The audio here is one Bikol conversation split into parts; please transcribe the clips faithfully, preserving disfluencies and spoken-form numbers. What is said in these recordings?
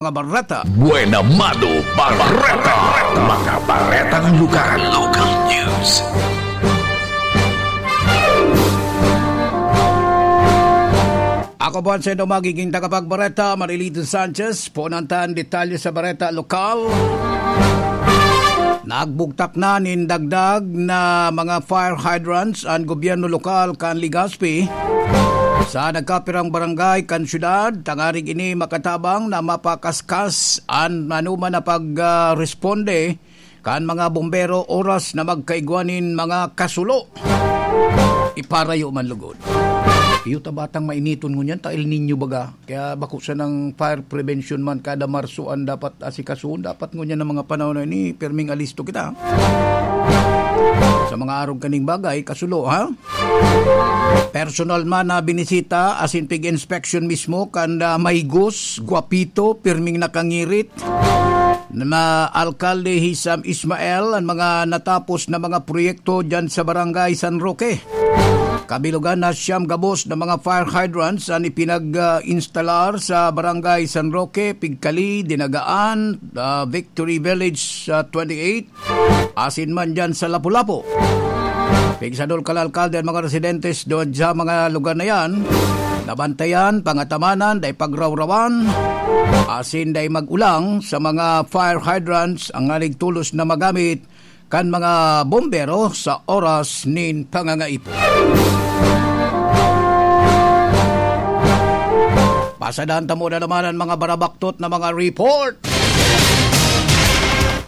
Mga bareta. Buena Mano Bareta. Mga baretang lokal. Local news. Ako po ang sendo magiging tagapagbareta, Marilito Sanchez. Punan ta an detalye sa bareta lokal. Nagbugtak na nin dagdag na mga fire hydrants an gobyerno lokal kan Legazpi sa nagkapirang barangay kan syudad, tangarig ini makatabang na mapakaskas an manuman na pag, ah, responde kan mga bombero oras na magkaigwa nin mga kasulo. Iparayo man lugod. Iyo ta batang mainiton ngunyan, ta El Niño baga. Kaya bako sanang fire prevention man, kada Marso an dapat asikasuhon. Dapat ngunyan ang mga panahon na ini, pirming alisto kita. Sa mga arog kaning bagay, kasulo, ha? Personal man na binisita, asin pig-inspection mismo, kan, ah, Maygos, Guapito, pirming nakangirit, na Alkalde Hisam Ismael, ang mga natapos na mga proyekto dyan sa Barangay San Roque. Kabilugan na siyam gabos na mga fire hydrants an ipinag-instalar sa Barangay San Roque, Pigcali, Dinagaan, ah, Victory Village, ah, twenty-eight, asin man dyan sa Lapu-Lapu. Pigsadol kan alkalde an mga residentes doon sa mga lugar na yan, nabantayan, pangatamanan, dai pagrawrawan, asin dai mag-ulang sa mga fire hydrants ang nagtulos na magamit kan mga bombero sa oras nin pangangaipo. Pasadahan ta muna naman ang mga barabaktot na mga report.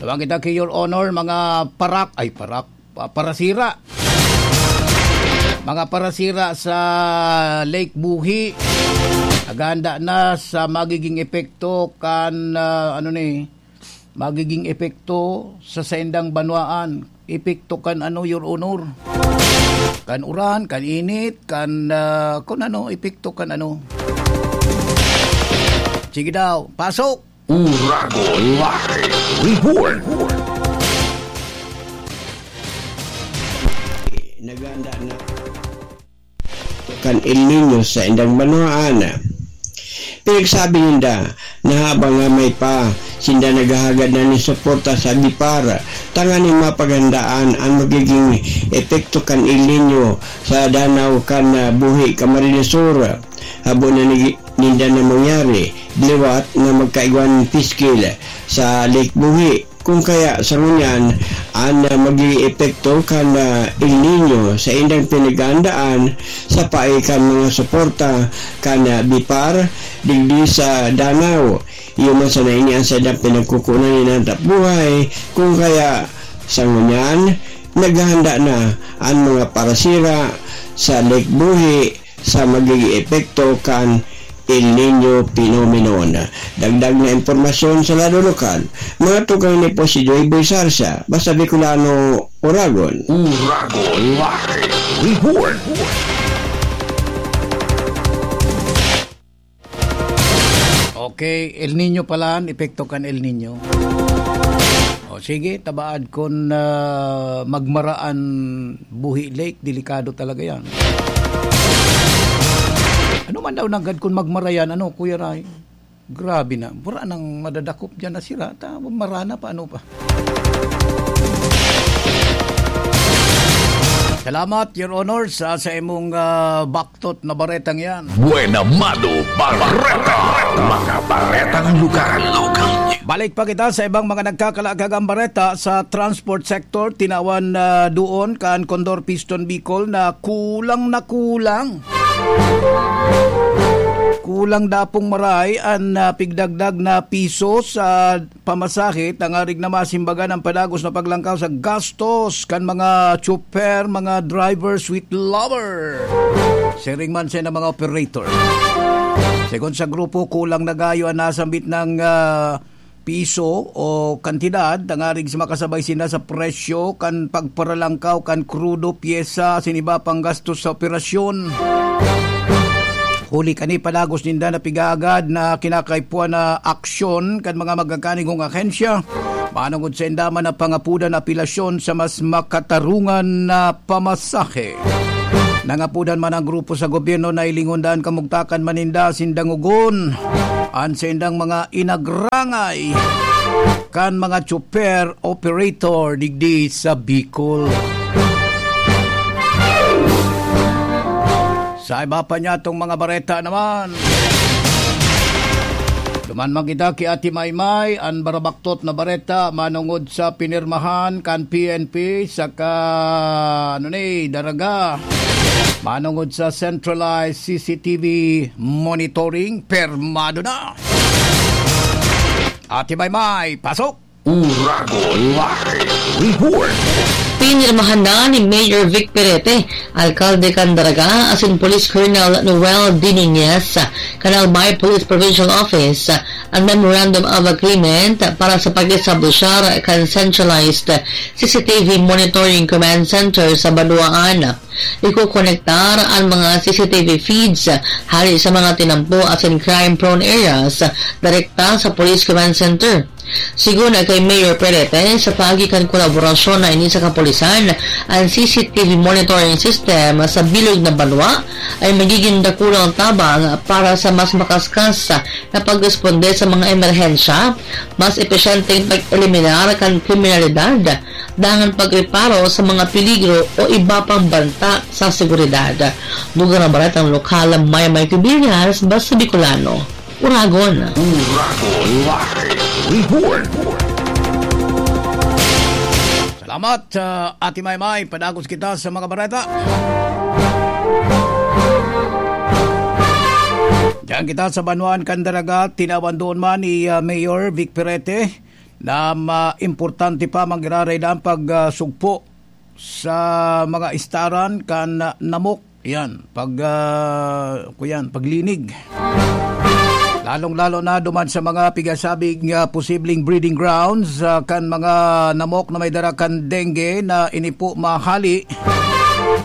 Tawag kita ki Your Honor, mga parak, ay, parak, pa-, parasira. Mga parasira sa Lake Buhi, naghahanda na sa magiging epekto kan, ah, ano ni, magiging epekto sa saindang banwaan. Epekto kan ano, Your Honor? Kan uran, kan init, kan, ah, kun ano, epekto kan ano. Sige daw, pasok! Uragon Live Report. Naghahanda na kan El Niño sa indang banwaan. Pinagsabi ninda na habang nga may pa, sinda naghahagad na nin suporta sa BIPAR, tanganing mapaghandaan an magiging epekto kan El Niño sa danaw kan, ah, Buhi, Camarines Sur. Habo na ni-, ninda na mangyari, liwat na magkaigwa nin piskil sa Lake Buhi. Kung kaya, sa ngunyan, an, ah, magiging epekto kan, ah, El Niño sa indang pinaghahandaan sa paagi kan mga suporta kan, ah, BIPAR digdi sa danaw. Iyo man sana ini an saindang pinagkukunan nin hanap buhay. Kung kaya, sa ngunyan, naghahanda na an mga parasira sa Lake Buhi sa magiging epekto kan El Niño phenomenon. Dagdag na impormasyon sa lado lokal, mga tugang ni po si Joy Boy Sarsa, basta Bicolano, Uragon. Uragon Live Report. Okay, El Niño pala, an epekto kan El Niño. O sige, tabaad kun, ah, magmara an Buhi Lake, delikado talaga yan. Ano man daw nanggad kun magmara yan, ano, Kuya Ray? Grabe na, wala nang madadakop dyan na sira. Ta, mara na pa, ano pa? Salamat, Your Honor, sa, sa imong, ah, baktot na baretang yan. Buena Mano Bareta. Mga baretang lugar. Local news. Balik pa kita sa ibang mga nagkakalakagang bareta sa transport sector. Tinawan na doon kan Condor Piston Bicol na kulang na kulang. Kulang dapong maray an, ah, pigdagdag na piso sa pamasahe, tangarig na masimbagan ang padagos na paglangkaw sa gastos kan mga tsoper, mga drivers with lover. Siring man sa mga operator. Segun sa grupo, kulang na gayo an nasambit na, ah, piso o kantidad, tangarig sa makasabay sinda sa presyo kan pagparalangkaw kan krudo, pyesa, asin iba pang gastos sa operasyon. Huli kani, padagos ninda na pigagad na kinakaipuhan na aksyon kan mga magkakanigong ahensya, manongod sa inda man na pangapudan na apelasyon sa mas makatarungan na pamasahe. Nangapudan man ang grupo sa gobyerno na hilingon daa an kamugtakan man ninda asin dangogon an saindang mga inagrangay kan mga chopper operator digdi sa Bicol. Sa iba pa niyatong mga bareta naman, duman man kita ki Ate Maymay, an barabaktot na bareta manongod sa pinirmahan kan P N P saka, ano ni, Daraga. Manongod sa centralized C C T V monitoring, permado na. Ate Maymay, pasok! Uragon Live Report. Pinirmahan na ni Mayor Vic Perete, alkalde kan Daraga, asin Police Colonel Noel D. Nunez, kan Albay Police Provincial Office, an Memorandum of Agreement para sa pag-establishar kan centralized C C T V Monitoring Command Center sa banwaan. Ikokonektar an mga C C T V feeds hali sa mga tinampo asin crime-prone areas direkta sa Police Command Center. Sigon kay Mayor Perete, sa paagi kan kolaborasyon na ini sa kapulisan, an C C T V monitoring system sa bilog na banwa ay magiging dakulang tabang para sa mas makaskas na pagresponde sa mga emerhensya, mas epesyenteng pag-eliminar kan kriminalidad, dangan pagreparo sa mga peligro o iba pang banta sa seguridad. Dugang na baretang lokal, Maymay Cubillas, Basta Bicolano, Uragon. Uragon Live Report. Salamat, ah, Ate Maymay. Padagos kita sa mga bareta. Diyan kita sa banwaan kan Daraga, tinawan doon man ni, ah, Mayor Vic Perete na ma-, importante pa magiraray na ang pag, ah, sugpo sa mga istaran kan, ah, namok. Yan, pag, ah, kuyan, paglinig. Lalong-lalo na duman sa mga pigasabing, ah, posibleng breeding grounds, ah, kan mga namok na may dara kan dengue na ini po mahali.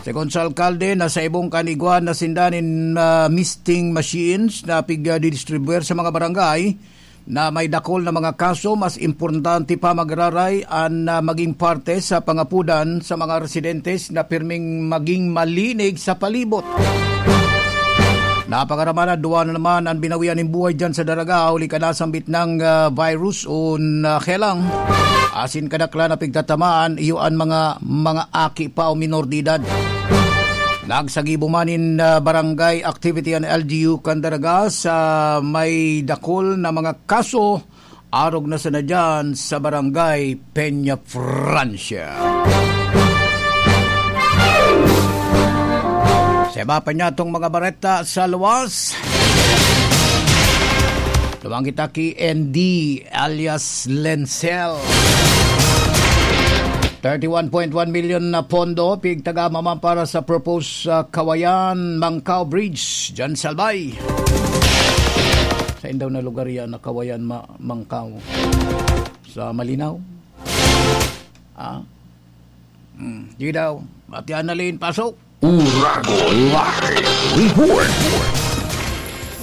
Segun sa alkalde, nasaibong kan igwa na sinda nin, ah, misting machines na pig, ah, didistribuer sa mga barangay na may dakul na mga kaso, mas importante pa magiraray an, ah, maging parte sa pangapudan sa mga residentes na pirming maging malinig sa palibot. Napakarama na, duwa na naman an binawian nin buhay diyan sa Daraga, huli kan nasambit na, ah, virus o na helang. Asin kadaklan na pigtatamaan, iyo an mga, mga aki pa o minor de edad. Nagsagibo man nin, ah, barangay activity an L G U kan Daraga sa may dakul na mga kaso, arog na sana diyan sa barangay Peña Francia. Sa iba pa niyatong mga bareta sa luwas, duman kita ki N D alias Lensel. Thirty-one point one million na pondo pigtagama man para sa proposed, ah, Kawayan Mangkao Bridge diyan sa Albay. Sain daw na lugar yan na Kawayan Ma-, Mangkao? Sa Malinaw? Ah? Hmm, di daw. Ate Annalyn, pasok. Uragon Live Report.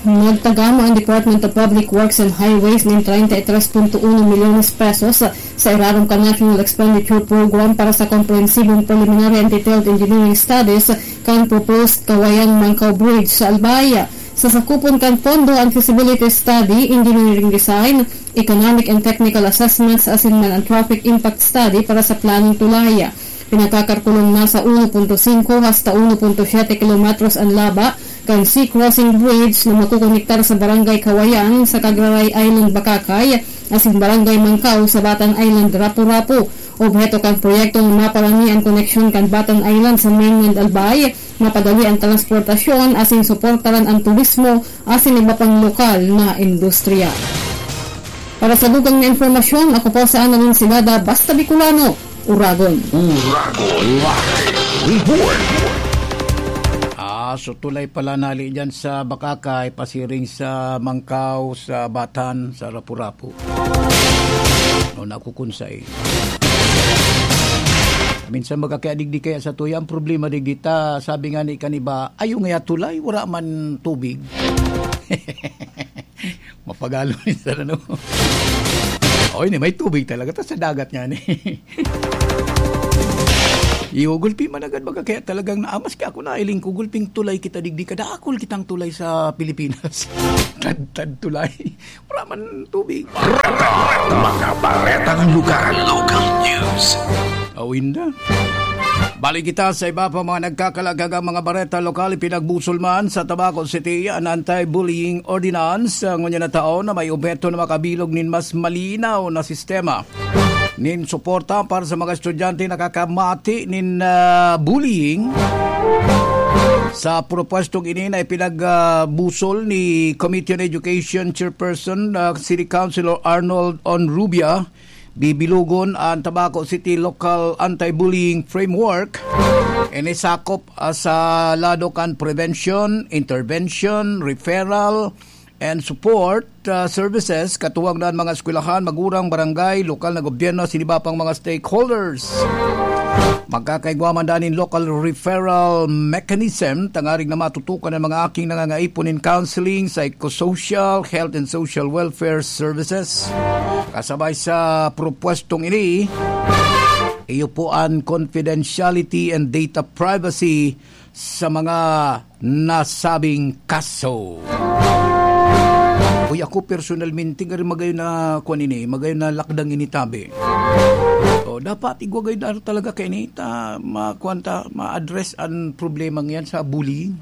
Nagtagama ang Department of Public Works and Highways nin treinta y tres punto uno milyones pesos sa irarom kan National Expenditure Program para sa komprehensibong preliminary and detailed engineering studies kan proposed Kawayan Mangkao Bridge sa Albay. Sasakupon kan pondo an feasibility study, engineering design, economic and technical assessments asin man an traffic impact study para sa planong tulay. Pinagkakalkulong nasa uno punto singko hasta uno punto siyete kilometros an laba kan sea crossing bridge na makokonektar sa Barangay Kawayan sa Cagraray Island, Bacacay, asin Barangay Mangkao sa Batan Island, Rapu-Rapu. Obheto kan proyekto na maparani an koneksyon kan Batan Island sa mainland Albay, mapadali an transportasyon asin suportaran an turismo asin iba pang lokal na industriya. Para sa dugang na impormasyon, ako po si Annalyn Silada, Basta Bicolano, Uragon. Uragon Live Report. Ah, so tulay pala nali dyan sa Bacacay, pasiring sa Mangkao, sa Batan, sa Rapu-Rapu. O, nakukunsay. Minsan magkakiadigdi kaya sa tuya, ang problema digdi ta, sabi nga ni kaniba, "Ayo nga tulay, wala man tubig." Mapagalo minsan, ano? Oy, ni may tubig talaga ta sa dagat nga ni. Iyo, gulpi man agad baga, kaya talagang na, ah, maski ako nailing ko, gulping tulay kita digdi, kadakul kitang tulay sa Pilipinas. Tadtad tulay. Wala man tubig. Mga baretang lugar, local news. Awinda. Balik kita sa iba pa mga nagkakalagagang mga bareta lokal, ipinagbusol man sa Tabaco City an anti-bullying ordinance, ah, ngunyan na taon na may obheto na makabilog nin mas malinaw na sistema nin suporta para sa mga estudyante nakakamati nin, ah, bullying. Sa propwestong ini na ipinagbusol ni Committee on Education Chairperson, ah, City Councilor Arnold Onrubia, bibilugon an Tabaco City Local Anti-Bullying Framework. Ini sakop, ah, sa lado kan prevention, intervention, referral, and support, ah, services, katuwang na an mga eskwelahan, magurang, barangay, lokal na gobyerno, asin iba pang mga stakeholders. Magkakaigwa man daa nin local referral mechanism, tangarig na matutukan an mga aking nangangaipo nin counseling, psychosocial, health and social welfare services. Kasabay sa propwestong ini, iyo po an confidentiality and data privacy sa mga nasabing kaso. Uy, ako personalmente, garo magayon na, kuwan ini, magayon na lakdang ini tabi. O, dapat igwa gayod na talaga kaini ta, ma-, kuwan ta, ma-address an problema ngiyan sa bullying.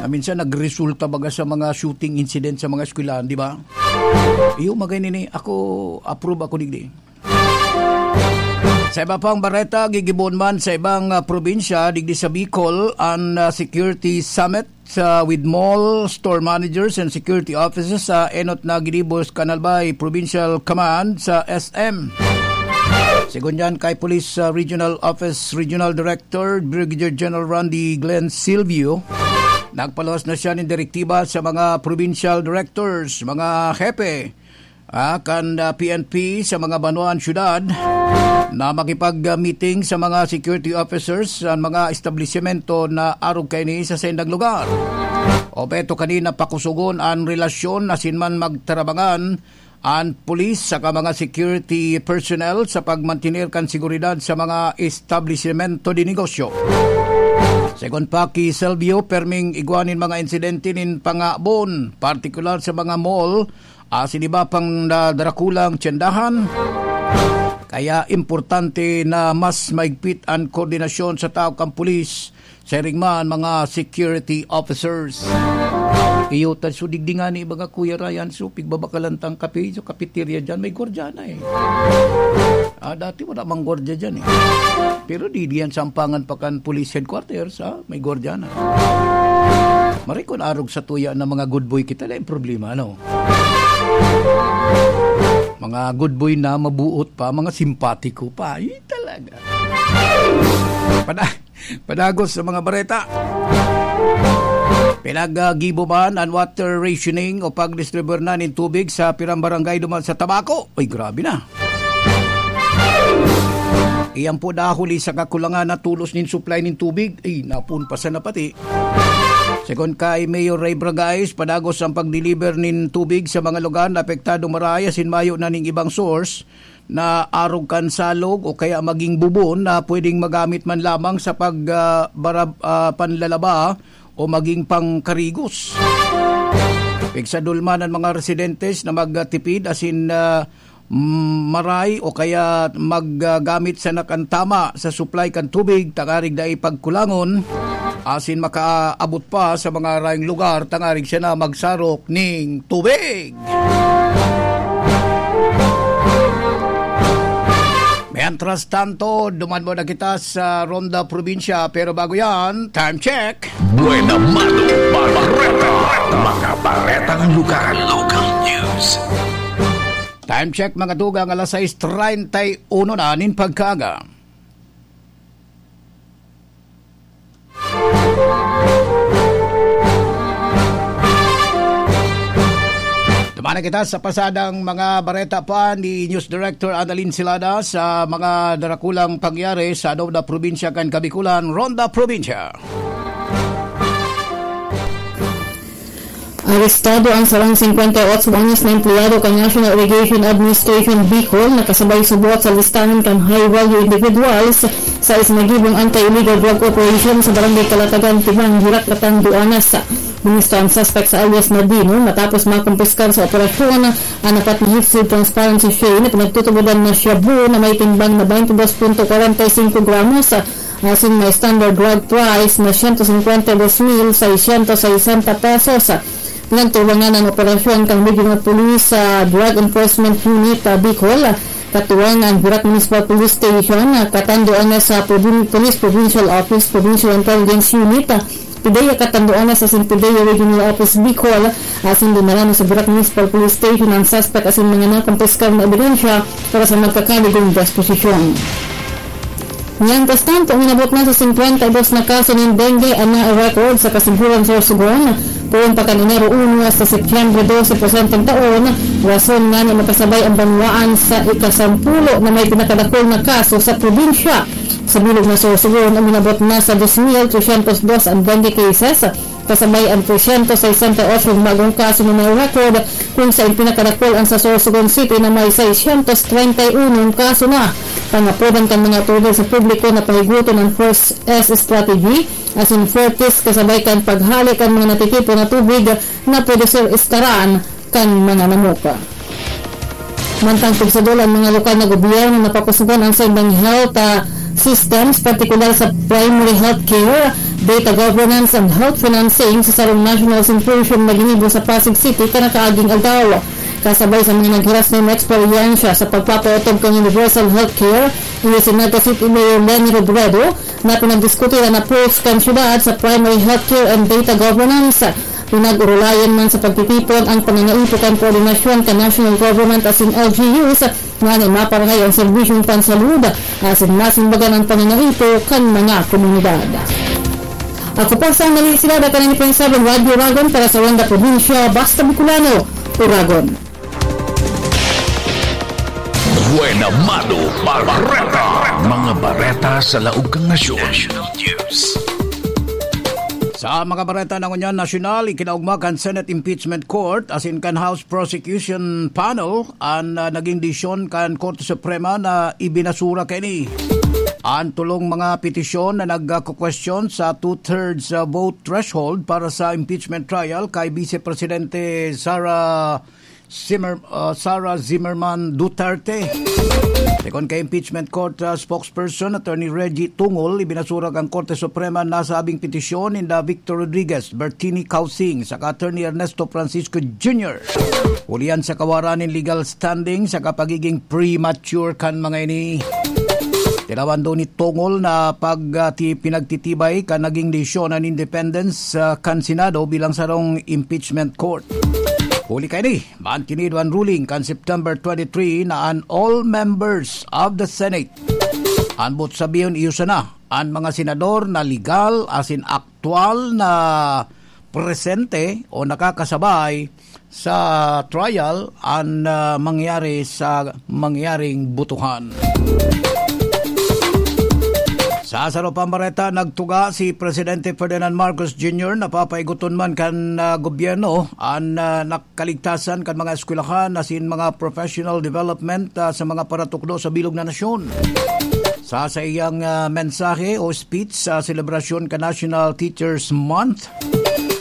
Na minsan nagresulta baga sa mga shooting incident sa mga eskwelahan, di ba? Iyo, magay nini, ako, approve ako digdi. Sa iba pang bareta, gigibohon man sa ibang, ah, probinsya, digdi sa Bicol, an, ah, Security Summit, ah, with mall, store managers, and security officers sa enot na ginibo sa Canal Bay Provincial Command sa S M. Segun diyan kay Police, ah, Regional Office Regional Director Brigadier General Randy Glenn Silvio, nagpaluwas na siya nin direktiba sa mga provincial directors, mga hepe, ah, kan, ah, P N P sa mga banwaan syudad na makipag-meeting sa mga security officers sa mga establisimento na arog kaini sa saindang lugar. Obheto kanina pakusogon an relasyon asin man magtarabangan an pulis saka mga security personnel sa pagmantener kan seguridad sa mga establisimento de negosyo. Segun pa ki Selvio, perming igwa nin mga insidente nin pangabon, partikular sa mga mall, asin iba pang da-, darakulang tyendahan. Kaya importante na mas maigpit an koordinasyon sa tawo kan pulis, siring man mga security officers. Iyo, ta, so, digdi ngani, baga, Kuya Ryan, so, pigbabakalan tang kape, so, cafeteria dyan, may gwardiya na eh. Ah, dati wala mang gwardiya dyan eh. Pero di diyan sampangan pa kan police headquarters, ha? May gwardiya na. Maray kun arog sa tuya na mga good boy kita, na yung problema, ano? Mga good boy na mabuot pa, mga simpatiko pa. Ay, talaga. Pada-, padagos sa mga bareta. Pinaggibo man an water rationing o pagdistribuyar na nin tubig sa pirang barangay duman sa Tabaco. Ay, grabe na. Iyan po dahuli sa kakulangan na tulos nin supply nin tubig. Ay, napun pa sana pati. Segun kay Mayor Ray Bragais, padagos ang pag-deliver nin tubig sa mga lugar na apektado maray asin mayo na ning ibang source na arog kan salog o kaya maging bubon na pwedeng magamit man lamang sa pag, ah, barab-, ah, panlalaba o maging pangkarigos. Pigsadul man an mga residentes na magtipid asin, ah, mm, maray o kaya maggamit sana kan tama sa supply kan tubig, tangarig dai pagkulangon, asin makaabot pa sa mga arayong lugar, tangarig siya na magsarok ning tubig. Mientras tanto, duman muna kita sa Ronda Probinsya, pero bago yan, time check. Buena mano, bareta. Mga baretang lugar, local news. Time check, mga tugang, alas sais treinta y uno na nin pagkaaga. Duman na kita sa pasadang mga bareta pa ni News Director Annalyn Silada sa mga darakulang pangyari sa Ronda Probinsya kan Kabikulan, Ronda Probinsya. Arestado ang sarong singkwenta y otso anyos na empleyado kan National Irrigation Administration Bicol na kasabay subot sa listahan kan high-value individuals sa isinagibong anti-illegal drug operation sa Barangay Kalatagan, Tibang, Herat, Catanduanes. Binisto ang suspect sa alias na Dino matapos makumpiskar sa operasyon ang apat na Heat Seed Transparency Tray na pinagtutubodan na shabu na may timbang na twenty-two point forty-five gramos, asin may standard drug price na siyento singkwenta y dos mil seiscientos sesenta pesos. Pinagtubangan an operasyon kan Regional Police, ah, Drug Enforcement Unit, ah, Bicol, katuwang an Herat Municipal Police Station, ah, katuwang sa Provin-, Police Provincial Office, Provincial Intelligence Unit, ah, PDEA Catanduanes asin PDEA Regional Office Bicol, asin dinala na sa Herat Municipal Police Station ang suspect asin mga nakumpiskar na ebidensya para sa magkakaligong disposisyon. Mientras tanto, uminabot na sa singkwenta y dos na kaso nin dengue an na-record sa Kasiguran, Sorsogon, poon pa kan Enero uno hasta Setyembre dose presenteng taon, rason ngani makasabay ang banwaan sa ikasampulo na may pinakadakul na kaso sa probinsya. Sa bilog na Sorsogon, uminabot na sa dos mil tresyentos dos ang dengue cases, kasabay ang tresyentos sesenta y otso bagong kaso na na-record, kung sa pinakadakul ang sa Sorsogon City na may seiscientos treinta y uno kaso na. Pangapodan kan mga otoridad sa publiko na pahigoton ang First S strategy, asin Firtis, kasabay kan paghale kan mga natitipon na tubig na pwede ser istaran kan mga namuka. Mantang pigsadol ang mga lokal na gobyerno na pakusugon ang saindang health, ah, systems, partikular sa primary health care, data governance and health financing sa sarong national symposium na ginibo sa Pasig City kan nakaaging aldaw. Kasabay sa mga naghiras na eksperyensya sa pagpapaotob kan universal health care, iyo si Naga City Mayor Leni Robredo, na pinagdiskutiran na approach kan syudad sa primary healthcare and data governance. Pinag-urulayan man sa pagtitipon ang pangangaipo kan koordinasyon kan national government asin L G Us, ngani maparahay ang serbisyong pansalud asin masimbagan ang pangangaipo kan mga komunidad. Ako po sa Nalisila, Dakan ni Prince Radyo Uragon para sa Wanda Probinsya, Basta Bicolano, Uragon. Buena Mano Bareta. Mga bareta sa laog kan nasyon. National News. Sa mga bareta na ngunyan nasyonal, ikinaugma kan Senate Impeachment Court asin kan House Prosecution Panel an, ah, naging desisyon kan Korte Suprema na ibinasura kaini an tolong mga petisyon na nagkukwestiyon sa two-thirds, ah, vote threshold para sa impeachment trial kay Vice Presidente Sara Zimmer-, ah, Sara Zimmerman Duterte. Segun kay Impeachment Court, ah, spokesperson Attorney Reggie Tungol, ibinasura kan Korte Suprema an nasabing petisyon ninda Victor Rodriguez, Bertini Causing, saka Attorney Ernesto Francisco Junior, hulihan sa kawaran nin legal standing saka pagiging premature kan mga ini. Tinawan daw ni Tungol na pag, ah, ti-, pinagtitibay kan naging desisyon an independence, ah, kan Senado bilang sarong impeachment court. Huli kaini, maantinido an ruling kan September twenty-three na an all members of the Senate, an boot sabihon iyo sana, an mga senador na legal asin aktual na presente o nakakasabay sa trial an, ah, mangyari sa mangyaring botohan. Sa saro pang bareta, nagtuga si Presidente Ferdinand Marcos Junior na papaigoton man kan, ah, gobyerno an, ah, nak-, kaligtasan kan mga eskwelahan asin mga professional development, ah, sa mga paratukdo sa bilog na nasyon. Sa saiyang, ah, mensahe o speech sa selebrasyon kan National Teachers Month,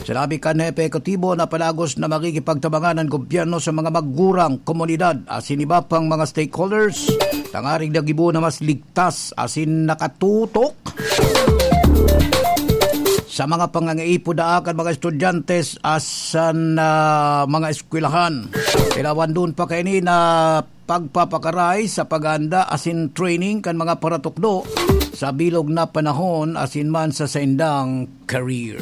sinabi kan Hepe Ekutibo na palagos na makikipagtabangan ang gobyerno sa mga magurang, komunidad asin iba pang mga stakeholders tangaring nagibo na mas ligtas asin nakatutok sa mga pangangaipo daa kan mga estudyante asin, ah, mga eskwelahan. Tinawan duon pa kaini na pagpapakaray sa paghahanda asin training kan mga paratukdo sa bilog na panahon asin man sa saindang career.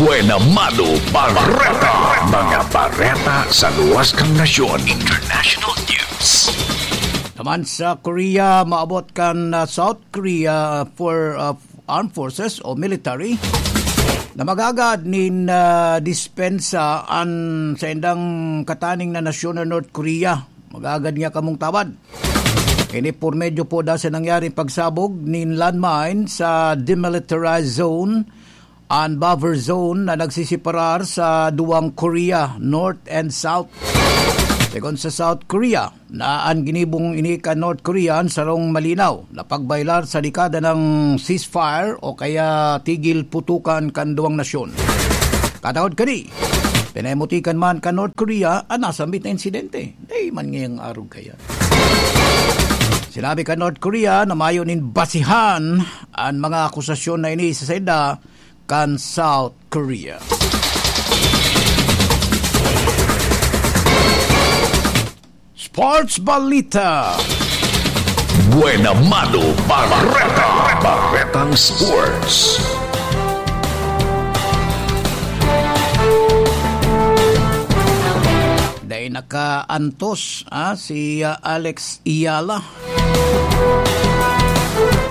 Buena Mano Bareta. Mga bareta sa luwas kan nasyon. International News. Naman sa Korea, maabot kan, ah, South Korea for, ah, armed forces o military na magagad nin, ah, dispensa an saindang kataning na nasyon na North Korea. Magagad niya kamong tabad. Ini por medyo po da sa nangyaring pagsabog nin landmine sa demilitarized zone an buffer zone na nagsiseparar sa duwang Korea, North and South. Segun sa South Korea, na an ginibong ini kan North Korea an sarong malinaw na pagbayolar sa dekada ng ceasefire o kaya tigil putukan kan duwang nasyon. Katagod kani, pinamutikan man kan North Korea an nasambit na insidente. Dai man ngayang arog kaya. Sinabi kan North Korea na mayo nin basihan an mga akusasyon na ini sa saida kan South Korea. Sports Balita. Buena Mano Bareta. Baretang Sports. Dai nakaantos, ah, si, ah, Alex Eala.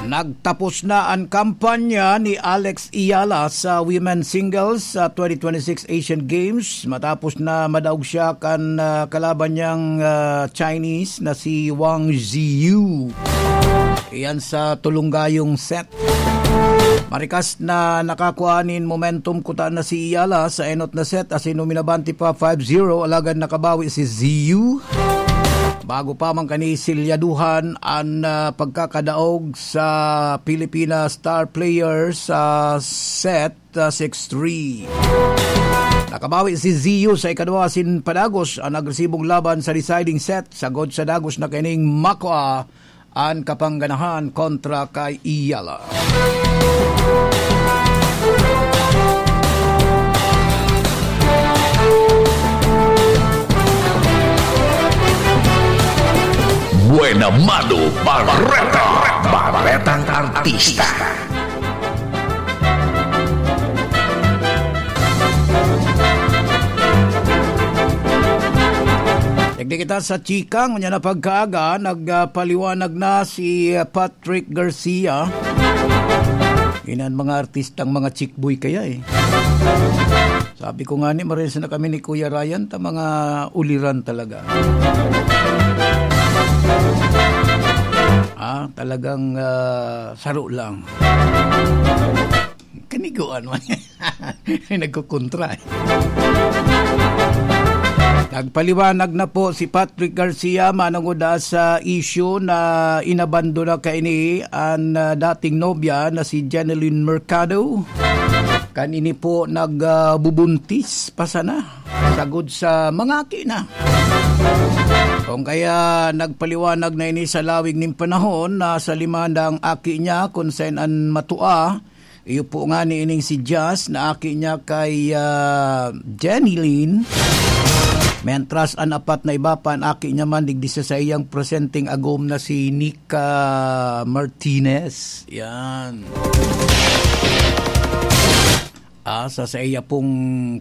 Nagtapos na an kampanya ni Alex Eala sa women's singles sa twenty twenty-six Asian Games matapos na madaog siya kan, ah, kalaban niyang, ah, Chinese na si Wang Zhiyu. Iyan sa tulong gayong set. Marikas na nakakua nin momentum kuta na si Eala sa enot na set asin uminabante pa five zero, alagad nakabawi si Zhiyu. Bago pa man kani silyaduhan an, ah, pagkakadaog sa Pilipinas star player sa set, ah, six three. Nakabawi si Zhiyu sa ikadwa asin padagos an agresibong laban sa deciding set, sagod sa dagos na kining makua an kapangganahan kontra kay Eala. Buena Mano Bareta. Baretang Artista. Digdi kita sa chika, ngunyan na pagkaaga, nagpaliwanag na si Patrick Garcia. Inan mga artistang mga chick boy kaya eh. Sabi ko nga ni, marensa na kami ni Kuya Ryan, ta mga uliran talaga. Ah, talagang, ah, saro lang. Kaniguan man. Nagkukontra eh. Nagpaliwanag na po si Patrick Garcia manungod sa issue na inabandona kaini an, ah, dating nobya na si Jeneline Mercado. Kan ini po nagbubuntis pa sana. Sagod sa mga aki na. Kung kaya nagpaliwanag na ini sa lawig nin panahon na sa limanda ang aki niya, kun saen an matua, iyo po nga ni ining si Jazz na aki niya kay, ah, Jenny Lynn. Mentras an apat na iba pa, an aki niya man digdi sa saiyang presenteng agom na si Nika Martinez. Yan. Ah, sa saiya pong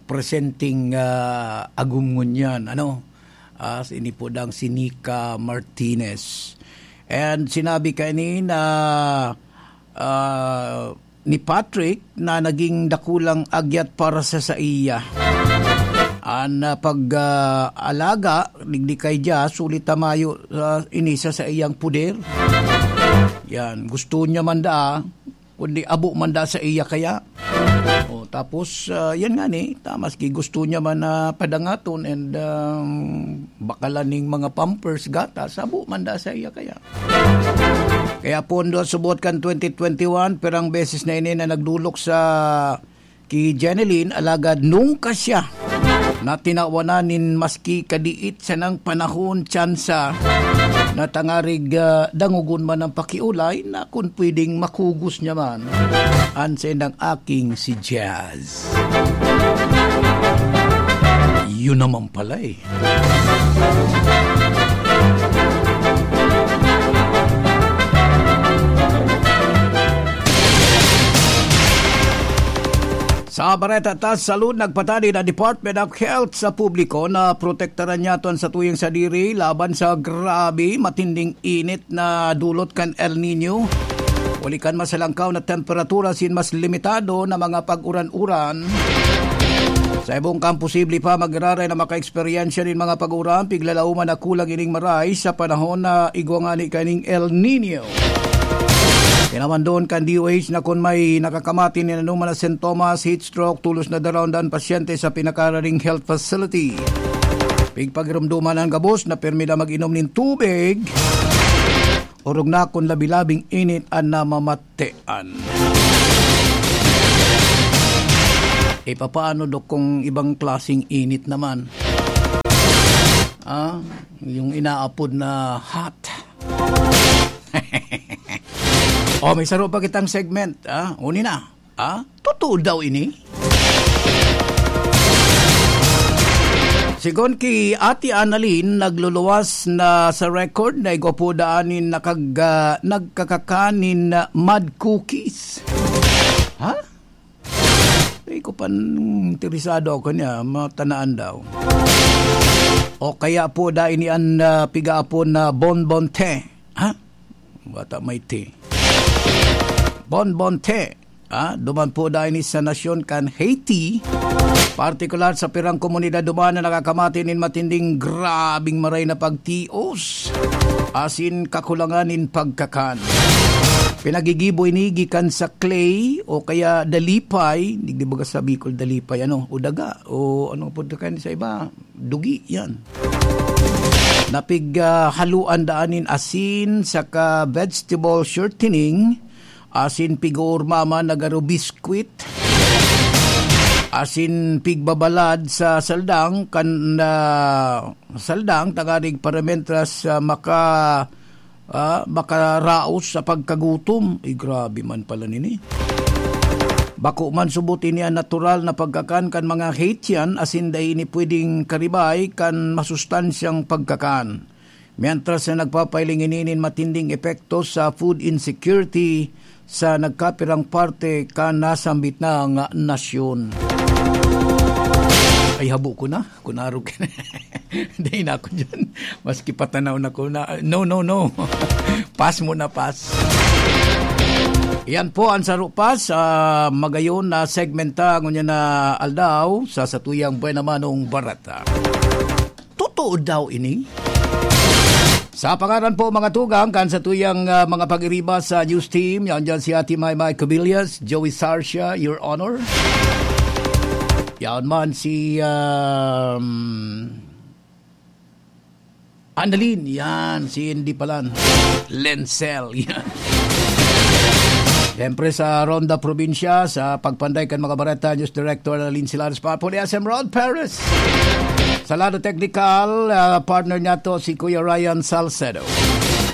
presenteng, ah, agom ngunyan, ano? Ah, ini po dang si Nika Martinez. And sinabi kaini na, ah, ni Patrick na naging dakulang agyat para sa saiya. An, ah, pag, ah, alaga, digdi kay Jazz, huli ta mayo, ah, ini sa saiyang poder. Yan, gusto niya man daa, kundi abo man daa saiya kaya. O, tapos, ah, yan nga ni, ta, maski gusto niya man na padangaton and, um, bakalan ning mga pampers, gatas, abo man daa saiya kaya. Kaya pondo subot kan twenty twenty-one, pirang beses na ini na nagdolok sa ki Jeneline, alagad nungka siya na tinawanan nin maski kadiit sanang panahon, tsansa, na tangarig, ah, dangogon man ang pakiolay na kun pwedeng makugos niya man an saindang aking si Jazz. Yun naman pala eh. Sa bareta ta sa salud, nagpatadi na Department of Health sa publiko na protektaran niya ton sa tuyang sadiri laban sa grabe matinding init na dulot kan El Nino. Huli kan masalangkaw na temperatura sin mas limitado na mga pag-uran-uran. Sa ibong kan posible pa magiraray na maka-eksperyensya nin mga pag-uran, piglalauman na kulang ining maray sa panahon na igwa ngani kaning El Nino. Pinamandon kan D O H na kun may nakakamati nin anoman na sintomas, heat stroke, tolos na daraw an pasyente sa pinakararing health facility. Pigpagirumduman an gabos na pirmi na mag-inom nin tubig. Orog na kun labi-labing init an namamatian. E, papaano, Dok, kung ibang klaseng init naman? Ah, yung inaapod na hot. O, may saro pa kitang segment, ah. Uni na, ah. Totoo daw ini? Sigon ki Ate Annalyn, nagluluwas na sa record na igwa po daan nin nakag-, ah, nagkakakan nin, ah, mad cookies. Ha? Di ko pa interesado ako niya, matanaan daw. O kaya po, dai ni an, ah, pigaapon na bonbon te. Ha? Bata may te. Bonbon te. Ah, duman po dai ni sa nasyon kan Haiti. Partikular sa pirang komunidad duman na nakakamati nin matinding grabing maray na pagtios. Asin kakulangan nin pagkakan. Pinagigibo ini gikan sa clay o kaya dalipay. Di, di ba sa Bicol dalipay, ano? O daga. O ano po kan sa iba? Dugi, yan. Napig, ah, haluan daan nin asin, saka vegetable shortening, asin pig-oormaman na garo biskwit, asin pigbabalad sa saldang, kan, ah, saldang, tanganing para mentras, ah, maka-, ah, makaraos sa pagkagutom. Ay, grabe man pala nini. Bako man subot ini an natural na pagkakan kan mga Haitian, asin dai ini pwedeng karibay kan masustansyang pagkakan. Mientras na nagpapailing ini nin matinding epekto sa food insecurity sa nagkapirang parte kan nasambit na nga nasyon. Ay, habo ko na. Kun arog ka na. Dai na ako dyan. Maski patanaw na ko na. No, no, no. Pass muna, pass. Yan po ang saro pa sa magayon na segmenta ngunyan na aldaw sa satuyang Buena Manong Barata. Totoo daw ini? Sa pangaran po, mga tugang, kan satuyang, ah, mga pag-iriba sa news team, yan dyan si Ate Maymay Cubillas, Joey Sarcia, Your Honor. Yan man si, um, Annalyn, yan, si Indy Palan. Lensel, yan. Siyempre sa Ronda Probinsya, sa pagpanday kan mga bareta, News Director Annalyn Silares, pa po ni S M Rod Perez. Sa lado technical, ah, partner niya to, si Kuya Ryan Salcedo.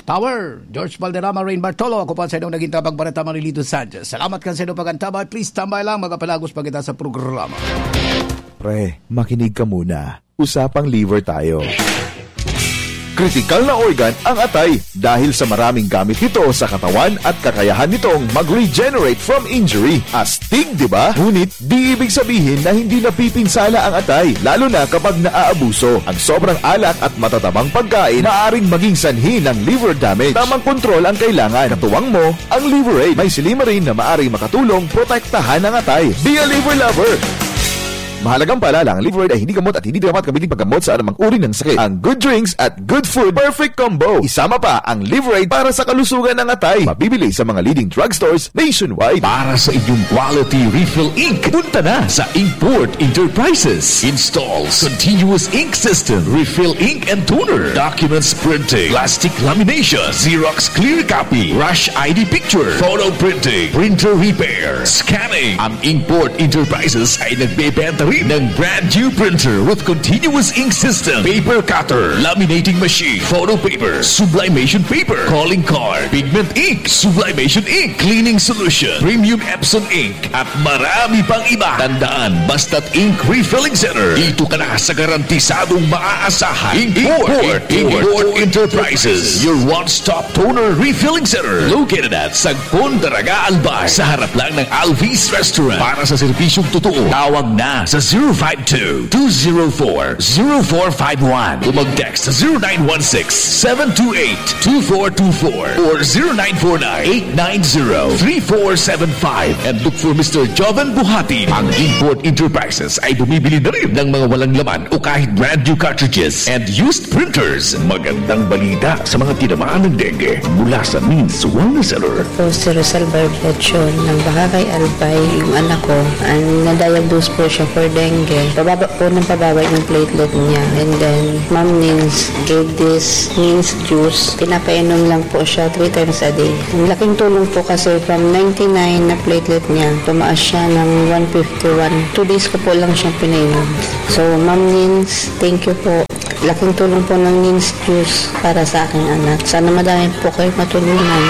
Power, George Valderrama, Rain Bartolo, ako pa sa inyong naging tabang bareta, Marilito Sanchez. Salamat kan sa inyong pag-antabay. Please, tambay lang, magapalagos pa kita sa programa. Pre, makinig ka muna. Usapang liver tayo. Kritikal na organ ang atay dahil sa maraming gamit nito sa katawan at kakayahan nitong mag-regenerate from injury. Astig, di ba? Ngunit, di ibig sabihin na hindi napipinsala ang atay, lalo na kapag naaabuso. Ang sobrang alak at matatabang pagkain maaring maging sanhi ng liver damage. Tamang kontrol ang kailangan. Katuwang mo, ang Liver Aid. May silymarin na maaring makatulong protektahan ang atay. Be a liver lover! Mahalagang paalala, ang Liver Aid ay hindi gamot at hindi dapat gamitin paggamot sa anumang uri ng sakit. Ang Good Drinks at Good Food, perfect combo. Isama pa ang Liver Aid para sa kalusugan ng atay. Mabibili sa mga leading drugstores nationwide. Para sa inyong quality refill ink, punta na sa Inkport Enterprises. Installs, continuous ink system, refill ink and toner, documents printing, plastic lamination, Xerox clear copy, rush I D picture, photo printing, printer repair, scanning. Ang Inkport Enterprises ay nagbebenta rin ng brand new printer with continuous ink system, paper cutter, laminating machine, photo paper, sublimation paper, calling card, pigment ink, sublimation ink, cleaning solution, premium Epson ink, at marami pang iba. Tandaan, basta't ink refilling center, dito ka na sa garantisadong maaasahan. Import, Import, Import Enterprises, your one-stop toner refilling center, located at Sagpon, Daraga, Albay, sa harap lang ng Alvis Restaurant. Para sa serbisyong totoo, tawag na sa zero five two, two zero four, zero four five one o mag-text sa zero nine one six, seven two eight, two four two four or zero nine four nine, eight nine zero, three four seven five and look for Mister Joven Buhati. Ang Import Enterprises ay bumibili na rin ng mga walang laman o kahit brand new cartridges and used printers. Magandang balita sa mga tinamaan ng dengue mula sa Means Wellness Center. Po si Rosal Barbiachon ng Baharay Albay, yung anak ko, ang na-diagnose po siya for dengue. Pababa po ng pababa yung platelet niya. And then, Ma'am Nins gave this Nins juice. Pinapainom lang po siya three times a day. Ang laking tulong po kasi from ninety-nine na platelet niya, tumaas siya ng one fifty-one. Two days ko po lang siyang pinainom. So, Ma'am Nins, thank you po. Laking tulong po ng Nins juice para sa aking anak. Sana madami po kayo matulungan.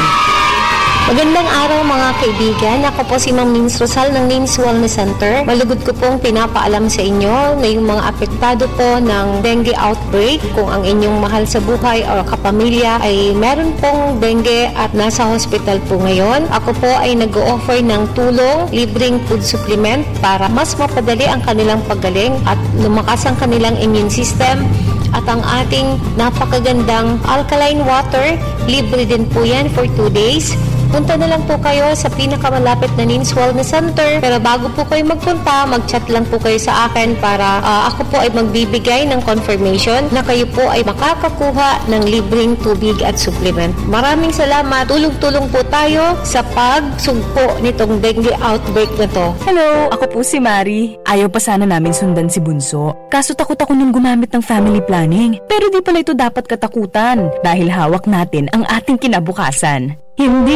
Magandang araw, mga kaibigan. Ako po si Ma'am Nins Rosal ng Nins Wellness Center. Malugod ko pong pinapaalam sa inyo na yung mga apektado po ng dengue outbreak, kung ang inyong mahal sa buhay o kapamilya ay meron pong dengue at nasa hospital po ngayon, ako po ay nag-o-offer ng tulong, libreng food supplement para mas mapadali ang kanilang paggaling at lumakas ang kanilang immune system. At ang ating napakagandang alkaline water, libre din po yan for two days. Punta na lang po kayo sa pinakamalapit na Nins Wellness Center. Pero bago po kayo magpunta, mag-chat lang po kayo sa akin para ah, ako po ay magbibigay ng confirmation na kayo po ay makakakuha ng libreng tubig at supplement. Maraming salamat. Tulong-tulong po tayo sa pagsugpo nitong dengue outbreak na to. Hello, ako po si Mari. Ayaw pa sana namin sundan si Bunso. Kaso takot ako nung gumamit ng family planning. Pero di pala ito dapat katakutan dahil hawak natin ang ating kinabukasan. Hindi